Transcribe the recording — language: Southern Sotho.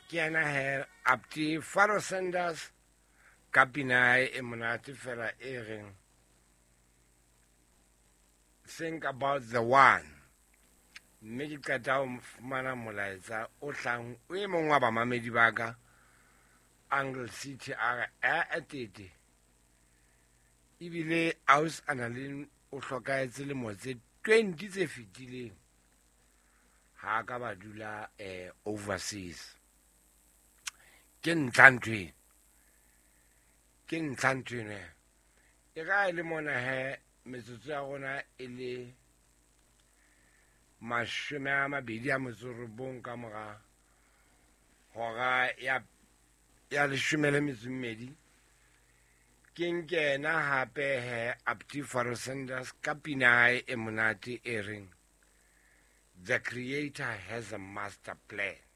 Ke yena he Apti Faro Sanders ka pina ya hae e monate fela e reng Think About the One. Mme ke qeta ho fumana molaetsa o hlang o e mong wa bamamedi ba ka Angle City a re ee tete ebile aus Annalyn o hlokahetse lemo tse 20 tse fetileng ha ka ba dula overseas. Ke ntlha ntho eno, ke ntlha ntho eno. E ka e le mona he metsotso ya rona e le 29 ka mora hora ya 12. Ke nkena hape he Apti Faro Sanders ka pina hae e monate e reng The Creator Has a Master Plan.